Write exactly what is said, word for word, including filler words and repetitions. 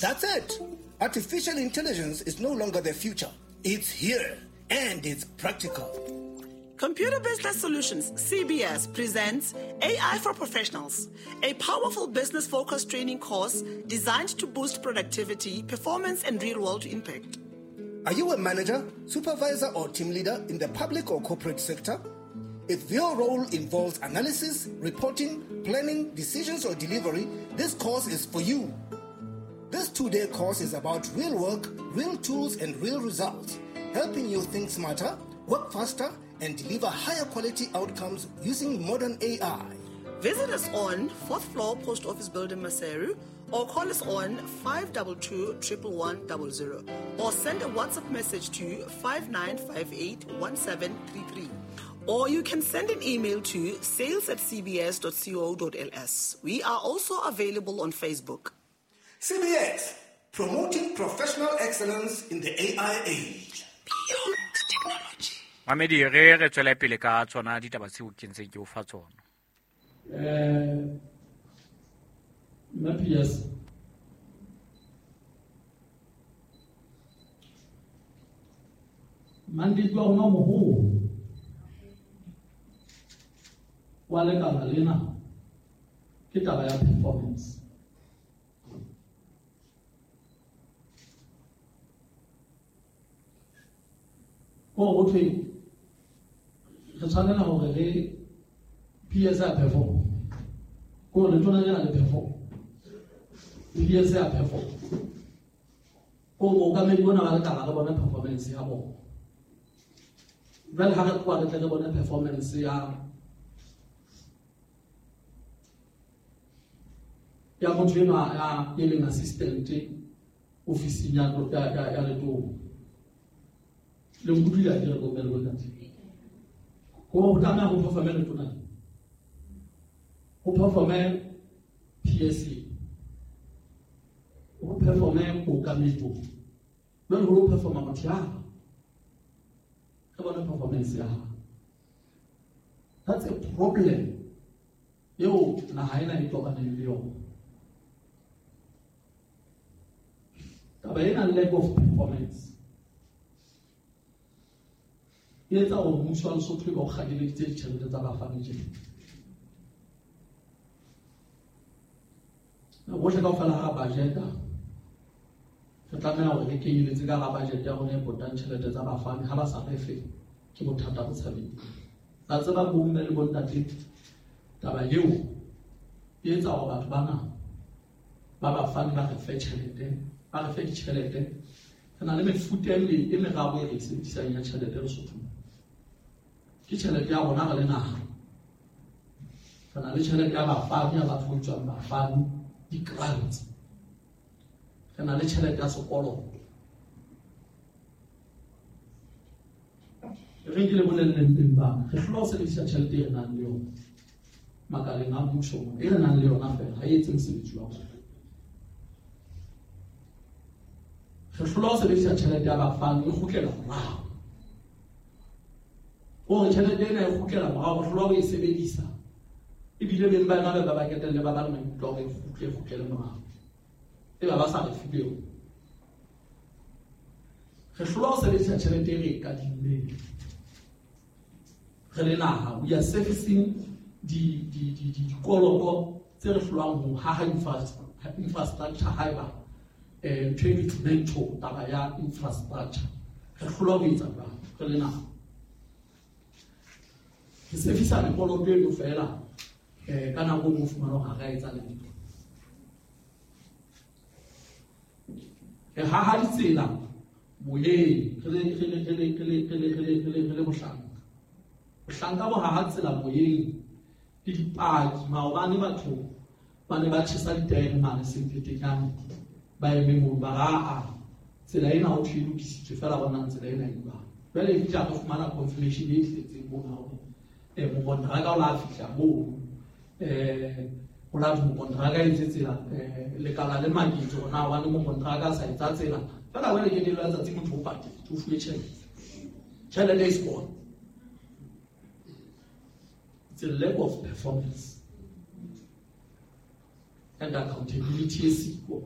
That's it. Artificial intelligence is no longer the future. It's here and it's practical. Computer Business Solutions, C B S, presents A I for Professionals, a powerful business-focused training course designed to boost productivity, performance, and real-world impact. Are you a manager, supervisor, or team leader in the public or corporate sector? If your role involves analysis, reporting, planning, decisions, or delivery, this course is for you. This two-day course is about real work, real tools, and real results, helping you think smarter, work faster, and deliver higher quality outcomes using modern A I. Visit us on fourth floor Post Office Building, Maseru, or call us on five two two, triple one, double zero, or send a WhatsApp message to five nine five eight, one seven three three. Or you can send an email to sales at c b s dot co dot l s. We are also available on Facebook. C B S, promoting professional excellence in the A I age. Beyond technology. Mamedi re re tswela pele ka tsona ditaba tseo ke ntseng ke o fa tsona. Eh, Matthias, mandate wa rona moholo wa lekala lena ke taba ya performance. Ko ho thwe re tshwanela hore re P S A perform. Ko re tshwanela lena le perform. P S A perform. Ko mookamedi bona ba lekala re bona performance ya bona. Jwale ha re tloha re tle re bone performance ya ya motho enwa ya e leng assistant ofising ya ya ya letona. Le nkutlwile ha ke re bomme le bontate. Ko ho tlameha ho performe letona. Ho performe P S A. Ho performe mookamedi bo. Jwale ho performa motho ya. Re bone performance ya hae. That's a problem eo naha ena e tobaneng le yona. Taba ena lack of performance e etsa hore mmuso wa Lesotho e be o kgakeleditse ditjhelete tsa bafani tjena. Bohle kaofela ha budget-a re tlameha hore re kenyeletse ka hara budget ya rona e potang tjhelete tsa bafani. Ha ba sa re fe ke bothata bo tshabeng. La tseba bomme le bontate, taba eo e etsa hore batho bana ba bafani ba re fe tjhelete, ba re fe ditjhelete. Re na le mefuta e meraro e re e sebedisang ya tjhelete Lesotho. Ke tjhelete ya rona re le naha. Re na le tjhelete ya bafani, ya batho ba bitswang bafani, di-grants. Re na le tjhelete ya sekoloto. Re ke le bolelleng teng bana, re hlola ho sebedisa tjhelete e re nang le yona makaleng a mmuso mona, e re nang le yona feela, ha e etse mosebetsi wa rona. Re hlola ho sebedisa tjhelete ya bafani, e kgutlela morao. Hore tjhelete ena e kgutlela morao, re hlola ho e sebedisa. Ebile beng ba yona ba ba ketelle ba ba le maikutlo a hore e kgutle, e kgutlele morao. Eba ba sa re fe eo. Re hlola ho sebedisa tjhelete e re e kadimmeng. Re le naha, we are servicing di di di di dikoloto tse re hlolang ho haha infrastructure haeba eh ntho e bitswang taba ya infrastructure. Re hlola ho etsa jwalo re le naha. Re servisa mekoloto eno fela eh ka nako e nngwe o fumana hore ha re a etsa letho. Re haha ditsela moyeng re le re le re le re le re le re le re le re le bohlanka. Bohlanka bo haha tsela moyeng ke dipaki. Maobane batho ba ne ba tjhesa ditaere mane Semphetenyane, ba eme mono ba re aa tsela ena ho thwe e lokisitswe fela bonang tsela ena e jwang. Jwale e fihla re fumana confirmation e tletseng mona hore eh mokontraka o la fihla mono, eh o la mokontraka e etse tsela, eh lekala le maketso hore na hobane mokontraka a sa etsa tsela fela jwale ke lelo la tsatsi motho o patetse, o fuwe tjhelete. Tjhelete is gone. It's a lack of performance and accountability e siko.